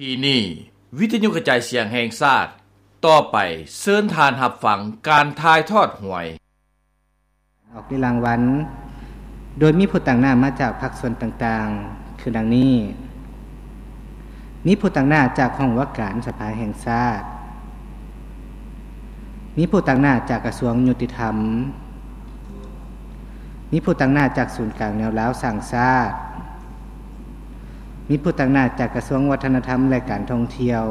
ທີ່ນີ້ ວິທະຍຸກະຈາຍສຽງແຫ່ງຊາດ, ຕໍ່ໄປເຊີນທ່ານຮັບຟັງການຖ່າຍທອດຫວຍ. ອອກລຽກລາງວັນ ໂດຍມີຜູ້ຕາງໜ້າມາຈາກພາກສ່ວນຕ່າງໆ ຄືດັ່ງນີ້: ມີຜູ້ຕາງໜ້າຈາກຫ້ອງວ່າການສະພາແຫ່ງຊາດ, ມີຜູ້ຕາງໜ້າຈາກກະຊວງຍຸຕິທຳ, ມີຜູ້ຕາງໜ້າຈາກສູນກາງແນວລາວສ້າງຊາດ, ມີຜູ້ຕາງໜ້າຈາກກະຊວງວັດທະນະທຳ ແລະ ການທ່ອງທ່ຽວ,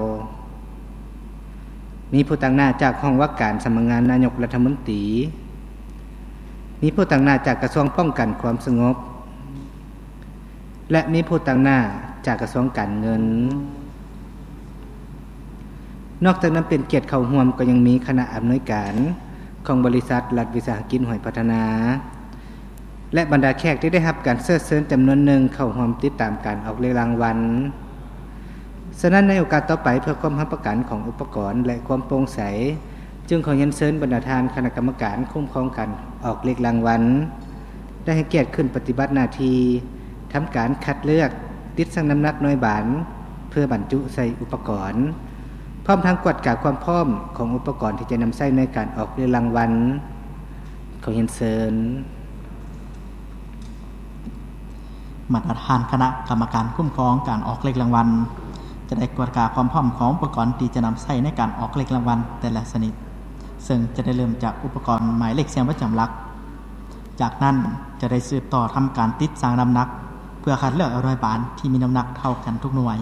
ມີຜູ້ຕາງໜ້າຈາກຫ້ອງວ່າການສຳນັກງານນາຍົກລັດຖະມົນຕີ, ມີຜູ້ຕາງໜ້າຈາກກະຊວງປ້ອງກັນຄວາມສະຫງົບ ແລະ ມີຜູ້ຕາງໜ້າຈາກກະຊວງການເງິນ. ນອກຈາກນັ້ນ ເປັນກຽດເຂົ້າຮ່ວມກໍຍັງມີຄະນະອຳນວຍການຂອງບໍລິສັດລັດວິສາຫະກິດຫວຍພັດທະນາ ແລະ ບັນດາແຂກທີ່ໄດ້ຮັບການເຊີດເຊີນຈຳນວນໜຶ່ງເຂົ້າຮ່ວມຕິດຕາມການອອກລຽກລາງວັນ. ສະນັ້ນ ໃນໂອກາດຕໍ່ໄປ ເພື່ອຄວາມຮັບປະກັນຂອງອຸປະກອນ ແລະ ຄວາມໂປ່ງໃສ, ຈຶ່ງຂໍຮຽນເຊີນບັນດາທ່ານຄະນະກຳມະການຄຸ້ມຄອງການອອກລຽກລາງວັນ ໄດ້ໃຫ້ກຽດຂຶ້ນປະຕິບັດໜ້າທີ່ ທຳການຄັດເລືອກ, ຕິດຊັ່ງນ້ຳໜັກໜ່ວຍບານ ເພື່ອບັນຈຸໃສ່ອຸປະກອນ, ພ້ອມທັງກວດກາຄວາມພ້ອມຂອງອຸປະກອນທີ່ຈະນຳໃຊ້ໃນການອອກລຽກລາງວັນ. ຂໍຮຽນເຊີນ. ບັນດາທ່ານຄະນະກຳມະການຄຸ້ມຄອງການອອກລຽກລາງວັນ ຈະໄດ້ກວດກາຄວາມພ້ອມຂອງອຸປະກອນທີ່ຈະນຳໃຊ້ໃນການອອກລຽກລາງວັນແຕ່ລະຊະນິດ, ເຊິ່ງຈະໄດ້ເລີ່ມຈາກອຸປະກອນໝາຍເລກສຽງປະຈຳຫຼັກ. ຈາກນັ້ນຈະໄດ້ສືບຕໍ່ທຳການຕິດຊັ່ງນ້ຳໜັກ ເພື່ອຄັດເລືອກເອົາໜ່ວຍບານທີ່ມີນ້ຳໜັກເທົ່າກັນທຸກໜ່ວຍ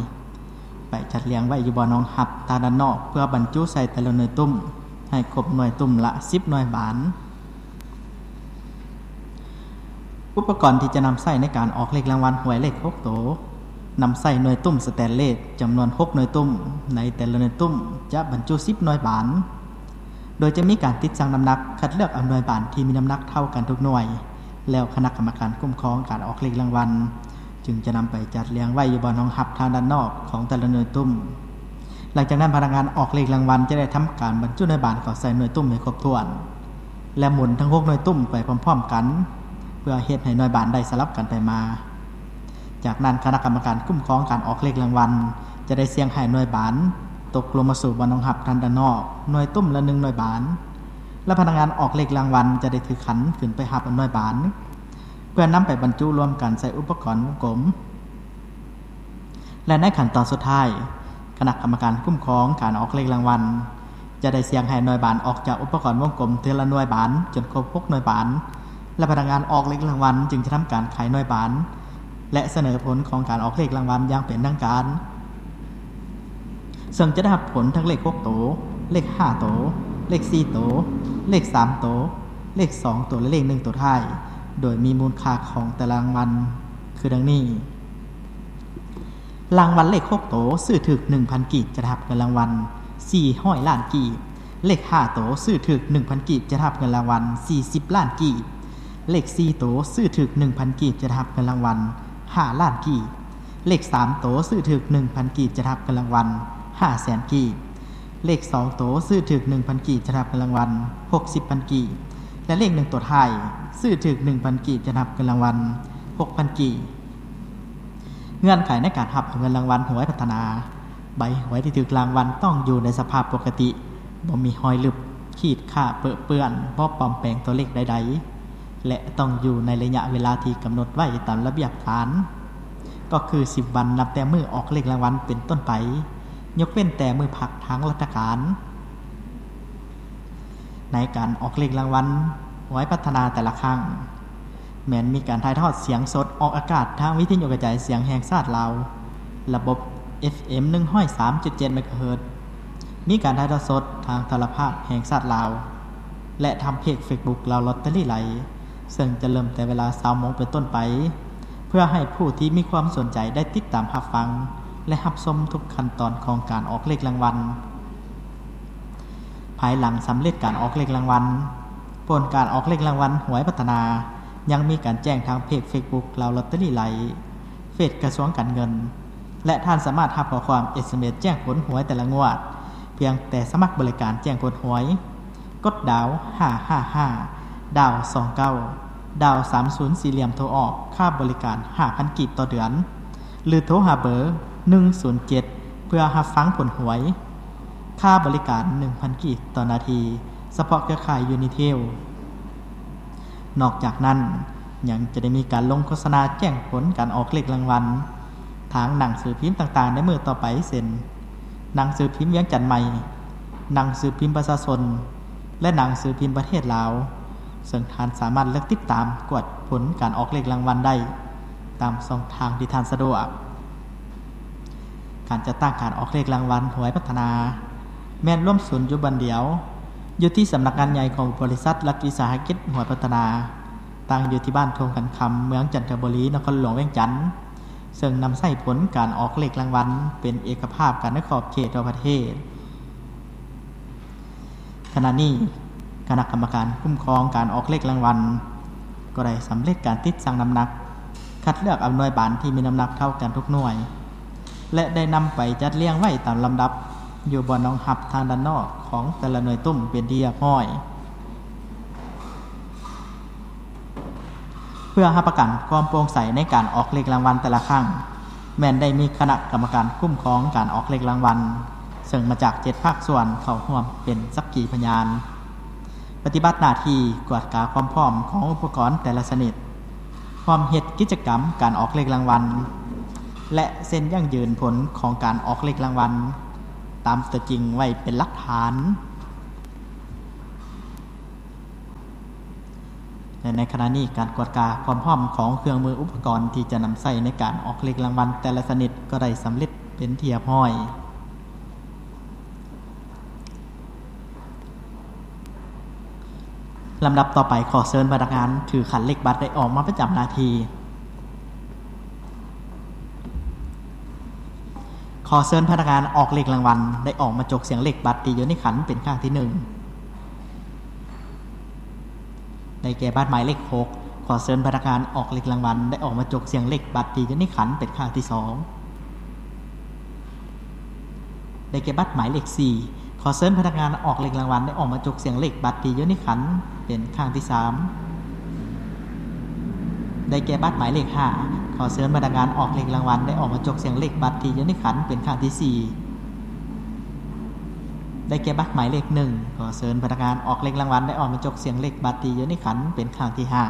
ໄປຈັດລຽງໄວ້ຢູ່ບ່ອນຮອງຮັບທາງດ້ານນອກ ເພື່ອບັນຈຸໃສ່ແຕ່ລະໜ່ວຍຕຸ້ມ ໃຫ້ຄົບໜ່ວຍຕຸ້ມລະສິບໜ່ວຍບານ. ອຸປະກອນທີ່ຈະນຳໃຊ້ໃນການອອກເລກລາງວັນຫວຍເລກຫົກໂຕ ນຳໃຊ້ໜ່ວຍຕຸ້ມສະແຕນເລດຈຳນວນຫົກໜ່ວຍຕຸ້ມ, ໃນແຕ່ລະໜ່ວຍຕຸ້ມຈະບັນຈຸສິບໜ່ວຍບານ, ໂດຍຈະມີການຕິດຊັ່ງນ້ຳໜັກ ຄັດເລືອກເອົາໜ່ວຍບານທີ່ມີນ້ຳໜັກເທົ່າກັນທຸກໜ່ວຍ, ແລ້ວຄະນະກຳມະການຄຸ້ມຄອງການອອກເລກລາງວັນ ຈຶ່ງຈະນຳໄປຈັດລຽງໄວ້ຢູ່ບ່ອນຮອງຮັບທາງດ້ານນອກຂອງແຕ່ລະໜ່ວຍຕຸ້ມ. ຫຼັງຈາກນັ້ນ ພະນັກງານອອກເລກລາງວັນຈະໄດ້ທຳການບັນຈຸໜ່ວຍບານເຂົ້າໃສ່ໜ່ວຍຕຸ້ມໃຫ້ຄົບຖ້ວນ ແລະ ໝູນທັງຫົກໜ່ວຍຕຸ້ມໄປພ້ອມໆກັນ ເພື່ອເຮັດໃຫ້ໜ່ວຍບານໄດ້ສະຫຼັບກັນໄປມາ. ຈາກນັ້ນ ຄະນະກຳມະການຄຸ້ມຄອງການອອກເລກລາງວັນຈະໄດ້ສ່ຽງໃຫ້ໜ່ວຍບານຕົກລົງມາສູ່ບ່ອນຮອງຮັບທາງດ້ານນອກ ໜ່ວຍຕຸ້ມລະໜຶ່ງໜ່ວຍບານ ແລະ ພະນັກງານອອກເລກລາງວັນຈະໄດ້ຖືຂັນຂຶ້ນໄປຮັບເອົາໜ່ວຍບານ ເພື່ອນຳໄປບັນຈຸລວມກັນໃສ່ອຸປະກອນວົງກົມ ແລະ ໃນຂັ້ນຕອນສຸດທ້າຍ ຄະນະກຳມະການຄຸ້ມຄອງການອອກເລກລາງວັນ ຈະໄດ້ສ່ຽງໃຫ້ໜ່ວຍບານອອກຈາກອຸປະກອນວົງກົມເທື່ອລະໜ່ວຍບານຈົນຄົບຫົກໜ່ວຍບານ ແລະ ພະນັກງານອອກເລກລາງວັນຈຶ່ງຈະທຳການຂາຍໜ່ວຍບານ ແລະ ສະເໜີຜົນຂອງການອອກເລກລາງວັນຢ່າງເປັນທາງການ. ເຊິ່ງຈະໄດ້ຮັບຜົນທັງເລກຫົກໂຕ, ເລກຫ້າໂຕ, ເລກສີ່ໂຕ, ເລກສາມໂຕ, ເລກສອງໂຕ ແລະ ເລກໜຶ່ງໂຕທ້າຍ, ໂດຍມີມູນຄ່າຂອງແຕ່ລະລາງວັນຄືດັ່ງນີ້: ລາງວັນເລກຫົກໂຕ ຊື້ຖືກໜຶ່ງພັນກີບ ຈະໄດ້ຮັບເງິນລາງວັນສີ່ຮ້ອຍລ້ານກີບ, ເລກຫ້າໂຕ ຊື້ຖືກໜຶ່ງພັນກີບ ຈະໄດ້ຮັບເງິນລາງວັນສີ່ສິບລ້ານກີບ, ເລກສີ່ໂຕ ຊື້ຖືກໜຶ່ງພັນກີບ ຈະໄດ້ຮັບເງິນລາງວັນຫ້າລ້ານກີບ, ເລກສາມໂຕ ຊື້ຖືກໜຶ່ງພັນກີບ ຈະໄດ້ຮັບເງິນລາງວັນຫ້າແສນກີບ, ເລກສອງໂຕ ຊື້ຖືກໜຶ່ງພັນກີບ ຈະໄດ້ຮັບເງິນລາງວັນຫົກສິບພັນກີບ ແລະ ເລກໜຶ່ງໂຕທ້າຍ ຊື້ຖືກໜຶ່ງພັນກີບ ຈະໄດ້ຮັບເງິນລາງວັນຫົກພັນກີບ. ເງື່ອນໄຂໃນການຮັບເອົາເງິນລາງວັນຫວຍພັດທະນາ ໃບຫວຍທີ່ຖືກລາງວັນຕ້ອງຢູ່ໃນສະພາບປົກກະຕິ, ບໍ່ມີຮອຍລຶບ, ຂີດຂ້າ, ເປິເປື້ອນ, ບໍ່ປອມແປງຕົວເລກໃດໆ ແລະ ຕ້ອງຢູ່ໃນໄລຍະເວລາທີ່ກຳນົດໄວ້ຕາມລະບຽບການ, ກໍຄືສິບວັນນັບແຕ່ມື້ອອກເລກລາງວັນເປັນຕົ້ນໄປ, ຍົກເວັ້ນແຕ່ມື້ພັກທາງລັດຖະການ. ໃນການອອກເລກລາງວັນຫວຍພັດທະນາແຕ່ລະຄັ້ງ ແມ່ນມີການຖ່າຍທອດສຽງສົດອອກອາກາດທາງວິທະຍຸກະຈາຍສຽງແຫ່ງຊາດລາວ ລະບົບ ເອັຟເອັມ ໜຶ່ງຮ້ອຍສາມຈຸດເຈັດ ເມກາເຮີດ, ມີການຖ່າຍທອດສົດທາງໂທລະພາບແຫ່ງຊາດລາວ ແລະ ທາງເພຈເຟສບຸກລາວລອດເຕີຣີໄລ ເຊິ່ງຈະເລີ່ມແຕ່ເວລາຊາວໂມງເປັນຕົ້ນໄປ ເພື່ອໃຫ້ຜູ້ທີ່ມີຄວາມສົນໃຈໄດ້ຕິດຕາມຮັບຟັງ ແລະ ຮັບຊົມທຸກຂັ້ນຕອນຂອງການອອກເລກລາງວັນ. ພາຍຫຼັງສຳເລັດການອອກເລກລາງວັນ, ຜົນການອອກເລກລາງວັນຫວຍພັດທະນາ ຍັງມີການແຈ້ງທາງເພຈເຟສບຸກລາວລອດເຕີຣີໄລ, ເພຈກະຊວງການເງິນ ແລະ ທ່ານສາມາດຮັບຂໍ້ຄວາມ ເອສເອັມເອສ ແຈ້ງຜົນຫວຍແຕ່ລະງວດ ພຽງແຕ່ສະໝັກບໍລິການແຈ້ງຜົນຫວຍ, ກົດດາວຫ້າຫ້າຫ້າ ດາວສອງເກົ້າ ດາວສາມສູນສີ່ຫຼ່ຽມໂທອອກ ຄ່າບໍລິການຫ້າພັນກີບຕໍ່ເດືອນ ຫຼື ໂທຫາເບີ ໜຶ່ງສູນເຈັດ ພື່ອຮັບຟັງຜົນຫວຍ, ຄ່າບໍລິການໜຶ່ງພັນກີບຕໍ່ນາທີ ສະເພາະເຄືອຂ່າຍຢູນິເທວ. ນອກຈາກນັ້ນ, ຍັງຈະໄດ້ມີການລົງໂຄສະນາແຈ້ງຜົນການອອກເລກລາງວັນ ທາງໜັງສືພິມຕ່າງໆໃນມື້ຕໍ່ໄປ ເຊັ່ນ ໜັງສືພິມວຽງຈັນໃໝ່, ໜັງສືພິມປະຊາຊົນ ແລະ ໜັງສືພິມປະເທດລາວ, ເຊິ່ງທ່ານສາມາດເລືອກຕິດຕາມກວດຜົນການອອກເລກລາງວັນໄດ້ຕາມຊ່ອງທາງທີ່ທ່ານສະດວກ. ການຈັດຕັ້ງການອອກເລກລາງວັນຫວຍພັດທະນາ ແມ່ນລວມສູນຢູ່ບ່ອນດຽວ ຢູ່ທີ່ສຳນັກງານໃຫຍ່ຂອງບໍລິສັດລັດວິສາຫະກິດຫວຍພັດທະນາ, ຕັ້ງຢູ່ທີ່ບ້ານທົ່ງຂັນຄຳ, ເມືອງຈັນທະບູລີ, ນະຄອນຫຼວງວຽງຈັນ, ເຊິ່ງນຳໃຊ້ຜົນການອອກເລກລາງວັນເປັນເອກະພາບກັນໃນຂອບເຂດທົ່ວປະເທດ. ຂະນະນີ້, ຄະນະກຳມະການຄຸ້ມຄອງການອອກເລກລາງວັນ ກໍໄດ້ສຳເລັດການຕິດຊັ່ງນ້ຳໜັກ, ຄັດເລືອກເອົາໜ່ວຍບານທີ່ມີນ້ຳໜັກເທົ່າກັນທຸກໜ່ວຍ ແລະ ໄດ້ນຳໄປຈັດລຽງໄວ້ຕາມລຳດັບ ຢູ່ບ່ອນຮອງຮັບທາງດ້ານນອກຂອງແຕ່ລະໜ່ວຍຕຸ້ມເປັນທີ່ຮຽບຮ້ອຍ. ເພື່ອຮັບປະກັນຄວາມໂປ່ງໃສໃນການອອກເລກລາງວັນແຕ່ລະຄັ້ງ, ແມ່ນໄດ້ມີຄະນະກຳມະການຄຸ້ມຄອງການອອກເລກລາງວັນ ເຊິ່ງມາຈາກເຈັດພາກສ່ວນເຂົ້າຮ່ວມເປັນສັກຂີພະຍານ, ປະຕິບັດໜ້າທີ່ກວດກາຄວາມພ້ອມຂອງອຸປະກອນແຕ່ລະຊະນິດ, ຮ່ວມເຮັດກິດຈະກຳການອອກເລກລາງວັນ ແລະ ເຊັນຢັ້ງຢືນຜົນຂອງການອອກເລກລາງວັນຕາມຕົວຈິງໄວ້ເປັນຫຼັກຖານ. ແລະ ໃນຂະນະນີ້, ການກວດກາຄວາມພ້ອມຂອງເຄື່ອງມືອຸປະກອນທີ່ຈະນຳໃຊ້ໃນການອອກເລກລາງວັນແຕ່ລະຊະນິດກໍໄດ້ສຳເລັດເປັນທີ່ຮຽບຮ້ອຍ. ລຳດັບຕໍ່ໄປ, ຂໍເຊີນພະນັກງານຖືຂັນເລກບັດໄດ້ອອກມາປະຈຳໜ້າທີ່. ຂໍເຊີນພະນັກງານອອກເລກລາງວັນໄດ້ອອກມາຈົກສ່ຽງເລກບັດທີ່ຢູ່ໃນຂັນເປັນຄັ້ງທີໜຶ່ງ. ໄດ້ແກ່ບັດໝາຍເລກຫົກ. ຂໍເຊີນພະນັກງານອອກເລກລາງວັນໄດ້ອອກມາຈົກສ່ຽງເລກບັດທີ່ຢູ່ໃນຂັນເປັນຄັ້ງທີສອງ. ໄດ້ແກ່ບັດໝາຍເລກສີ່. ຂໍເຊີນພະນັກງານອອກເລກລາງວັນໄດ້ອອກມາຈົກສ່ຽງເລກບັດທີ່ຢູ່ໃນຂັນເປັນຄັ້ງທີສາມ. ໄດ້ແກ່ບັດໝາຍເລກຫ້າ. ຂໍເຊີນພະນັກງານອອກເລກລາງວັນໄດ້ອອກມາຈົກສ່ຽງເລກບັດທີ່ຢູ່ໃນຂັນເປັນຄັ້ງທີສີ່. ໄດ້ແກ່ບັດໝາຍເລກໜຶ່ງ. ຂໍເຊີນພະນັກງານອອກເລກລາງວັນໄດ້ອອກມາຈົກສ່ຽງເລກບັດທີ່ຢູ່ໃນຂັນເປັນຄັ້ງທີຫ້າ.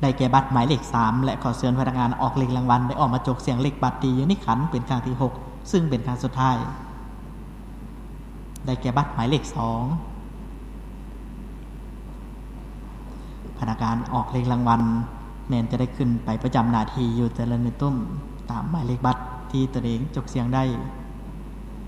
ໄດ້ແກ່ບັດໝາຍເລກສາມ ແລະ ຂໍເຊີນພະນັກງານອອກເລກລາງວັນໄດ້ອອກມາຈົກສ່ຽງເລກບັດທີ່ຢູ່ໃນຂັນເປັນຄັ້ງທີຫົກ ຊຶ່ງເປັນຄັ້ງສຸດທ້າຍ. ໄດ້ແກ່ບັດໝາຍເລກສອງ. ພະນັກງານອອກເລກລາງວັນແມ່ນຈະໄດ້ຂຶ້ນໄປປະຈຳໜ້າທີ່ຢູ່ແຕ່ລະໜ່ວຍຕຸ້ມຕາມໝາຍເລກບັດທີ່ຕົນເອງຈົກສ່ຽງໄດ້.